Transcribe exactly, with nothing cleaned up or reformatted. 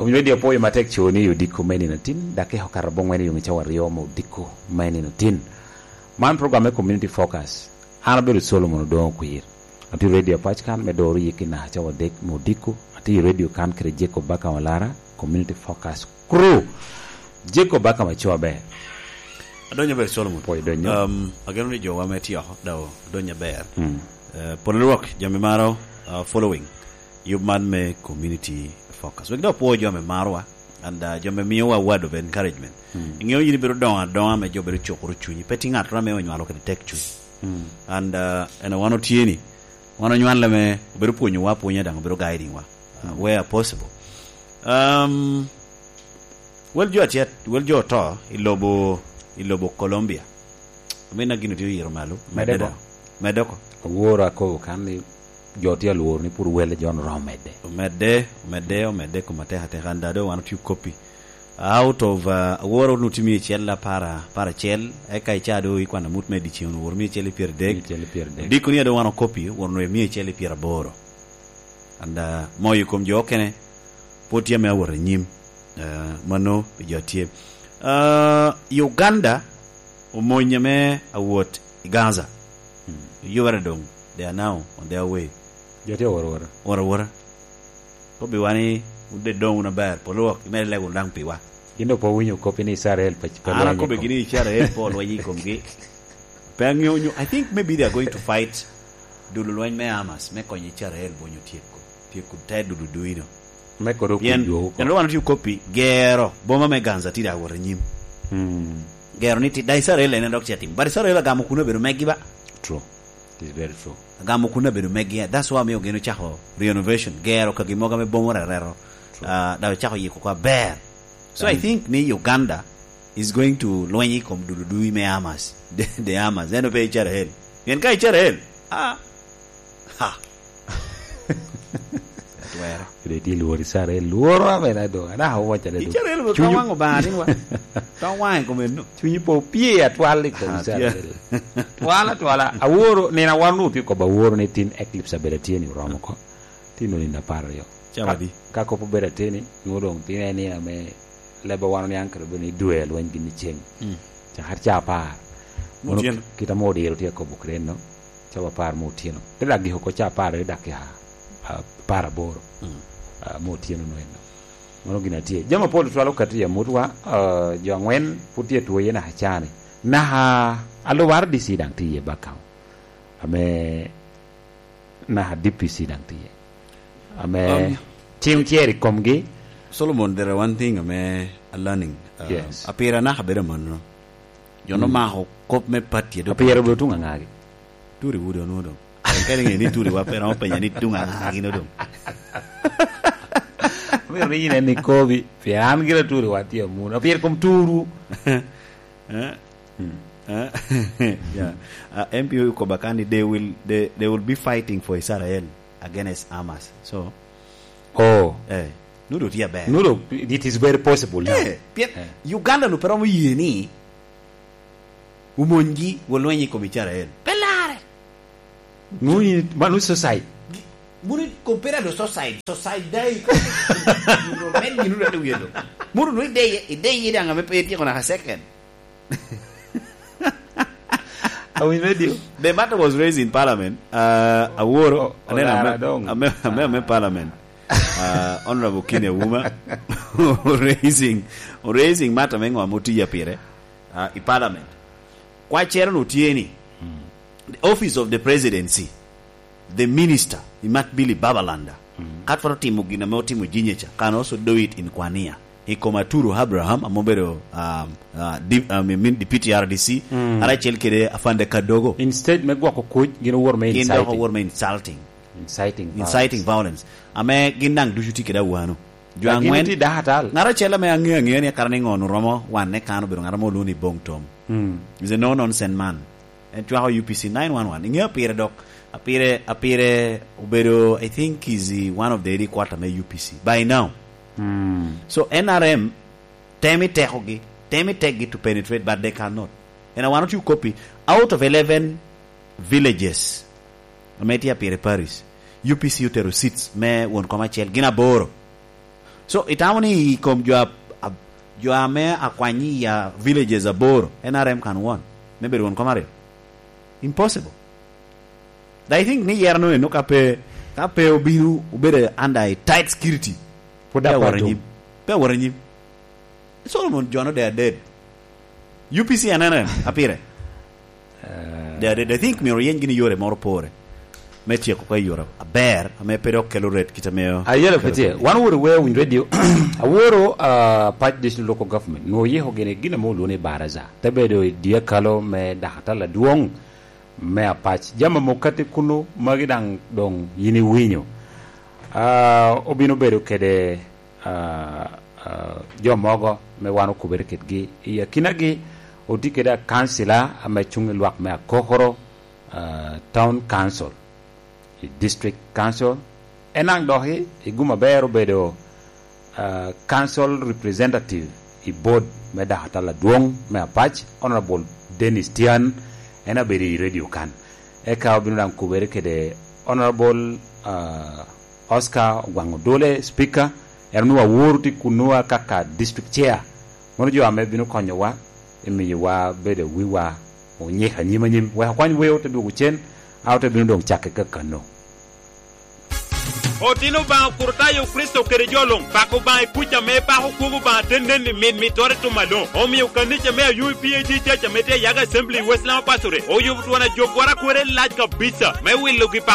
Owinyo radio pwoyo matek co ni odiko me nino tin, dakika okato abongwen i wi cawa aryo me odiko me nino tin. Man program me Community Focus. An abedo Solomon Odongo Kwir. Atye i radio pac kan me doro yik i naka cawa adek me odiko. Atye i radio kan kede Jacob Baka Malara, Community Focus Crew. Jacob Baka, maco aber. Adonyo aber, Solomon. Pwoyo donyo. Um, ageno ni jowa me tye oko, daw donyo aber. Mm. Eh, polo lwak, jami maro, uh, following. Yub man me Community Focus. Wek dok pwo jo ame marowa, and, uh, jo ame miyowa word of encouragement. Mm. Iŋeo yin ibedo doŋo adoŋa ame jo bedo cukoro cunyi. Pe tye ŋattoro ame onywalo kede tek cuny. Mm. And, uh, eno wan otye ni, wan onywale me obedo pwonyowa apwonya, daŋ obedo guiding wa, uh, mm, where possible. Um, wel jo atyet, wel jo oto i lobo, i lobo Colombia. Omin na gin otye oyiro malo. Medde Medde bo. Daŋ. Medde oko. Aworo akobo kan ni jo tye alworo ni pwod welle jo oromo medde. Omedde, omedde, omedde kom atek atek. And, uh, doŋ wan otye okoppi. Out of, uh, aworo nu tye mia acel apar, apar acel, eka ica doŋ ikwano amut me dyeceŋ, woro mia acel i pyeradek. Mia acel i pyeradek. Odiko ni a doŋ wan okoppi, woro nwe mia acel i pyeraboro. And, uh, moyo i kom jo okene, pwod tye ame awot anyim. Uh, mano pi jo tye. Uh, Uganda omony ame awot i Gaza. Hmm. Yubere doŋ, they are now on their way. Jo tye aworo awora. Wora wora. Kobbiwa ni, wun de doŋ wun aber, polo wok, imedde lego wunu daŋ piwa. Gin doŋ pe owinyo kop ni Icrael pe, pe An lweny i akobe kom. Gini Icrael pe olweny i komgi. Pe aŋeo nyo, I think maybe they are going to fight dul lweny me Hamas, me konyo Icrael bonyo tyeko, tyeko te dul duino. Me kodi okwi Pien, jwo oko. Pien wan otye okoppi, gero boma me Gaza tye daŋ awot anyim. Hmm. Gero ni ti-, daŋ Icrael en dok ce tim. But Icrael agamo kuno obedo megi ba. True. It is very true. Agamo kun abedo megi. That's why omiyo gin ocako renovation, gero ka gin mogo ame bomo rereto. True. Ah, daŋ ocako yiko oko aber. So I think ni Uganda is going to lweny i kom dududu me Hamas. The, the Hamas. Eno pe Icrael. Pien ka Icrael, ah, ha. Atwero. Kede tye lworo Icrael, lworo amena doŋ. Ana awaca da doŋ. Icrael obedo tong waŋ Obaŋa ni wa. Tong waŋe kom eno. Cunyi pe opye atwal i kom Icrael. Twala, twala. Aworo, nino aworo nwoŋo tye kobo aworo ni tin eclipse abedo atye ni oromo oko. Tin onino apar aryo. Cawa di? Ka, ka kop obedo ateni, nwoŋo doŋ tin en nino ame leb a wan oniaŋ kede obedo ni dwe alweny gin i ceng. Mm. Cakere ca apar. Mano kit ame odiro tye akobo kede eno. Cawa apar me otyeno. Te dok giko oko ca apar aryo dakika, ah, apar aboro, mm, ah, me otyeno nwen. Mano gin atye. Jami apol twal okato i amutwa, ah, jo angwen pwod tye atwoye naka cani. Naka alubara D C daŋ tye iye bakau. Ame naka D P C daŋ tye iye. Ame um, cing cer i komgi. Solomon, there are one thing ame a learning. Uh, yes. Apira naka bedo manno. Jo no mako kop me pati a doŋ. Apira obedo tuŋ aŋagi? Turi wudo onwoŋo doŋ. Kadi ŋe ni turi wa pe romo penya ni tuŋ aŋagi no doŋ. Myero ni yin en ikobi, pien an gira turi wa tye amuno. Apira kom turu. Eh? Hmm. Eh? Yeah. Uh, M P O okoba ka ni they will, they, they will be fighting for Israel against Hamas. So, oh, eh, nudo tye aber. Nudo, it is very possible now. Eh, pien eh, Uganda no pe romo ye ni omonygi, wolweny i kom Icrael. Pe lare. Nu yin, manu suicide. Gi-, munu compare to suicide. Suicide dai. Munu men ginu dade wiye do. Munu nu ideye, ideye daŋ ame pe ityeko naka second. Awinyo radio. The matter was raised in parliament. Uh, Aworo, oh, aneno Olara ame, doŋ, ame, ame, ame parliament. Uh, Honorable Kine Auma raising, raising matter me ŋo ame otiya pire. Ah, i parliament. Kwacere-nu tye ni, the office of the presidency, the minister, Imat Billy Babalanda, ka twero timo gin ame otimo Jinja ca, can also do it in Kwania. I kom Aturu Abraham, ame obedo, um, uh, di-, um, I mean, deputy R D C, ara acel kede Afande Kadogo. Instead me gwoko kuc, gin owor me inciting. Gin dok owor me insulting. Inciting violence. Inciting violence. Ame gin daŋ ducu tye kede awano. Jo angwen. Ŋat acel ame aŋeo aŋea ni akara ni ŋo-nu romo wanne kan obedo ŋat ame olwoŋo ni Bong Tom. Mm. He's a no nonsense man. En cwako U P C nine one one. Iŋeo pire dok, apire, apire obedo, I think he's the one of the headquarter me U P C by now. Mm. So N R M temo i tekogi, temo i tekgi to penetrate, but they cannot. En a wan otye okoppi, out of eleven villages ame tye apire parish, U P C otero seats me won kom acel, gin aboro. So, itamo ni i kom jo a, a, jo ame akwany i, ah, villages aboro, N R M can won, me bedo won kom aryo? Impossible. I think ni yero no eno ka pe, ka pe obino obedo under a tight security, Pwod pe awot apado. anyim. Pe awot anyim. Solomon John, they are dead. U P C and N R M, apire. Eh. They are dead. I think myero yeny gini yore moro pore me tyeko ka yore aber, ame pe dok kelo ret kit ame Ayelo kelo Petie, ret. Wan wot i Weo Winy Radio. Aworo, ah, Apac District Local Government. Nwo yiko gini gin ame olwongo ni baraza. Te bedo i dyekalo me dakatala dwong me Apac. Jami amo kati kunu magi daŋ doŋ yin iwinyo. Ah, obino bedo kede, ah, ah, jo mogo me wan okubere kedgi. I akinagi otye kede akancila ame cuŋ i lwak me Akokoro, ah, Town Council, i District Council. En daŋ dok i, i gum aber obedo, ah, Council Representative i Board me dakatala adwoŋ me Apac, Honorable Dennis Tian, en abedo i radio kan. Eka obino daŋ kubere kede Honorable, ah, Oscar Ogwaŋ Odole, Speaker, en onwoŋo aworo tye kunnu kaka District Chair. Mano jo ame bino konyowa, i miyowa bedo wiwa onyik anyim anyim. Wek akwany Weo te dwogo cen, a ote bino doŋ cakke kakano. Otino Obaŋa Okurutayo Kricito kede jo luŋ, pako Obaŋa i kuc ame epako kwogo Obaŋa atennenni mit mittere i tum aloŋ. Omio kanica me Ayubu P A G Church ame tye Ayaga Assembly i West Nile Pastorate oyubo twon ajog gwara kwere lac kabisa me wilogi pako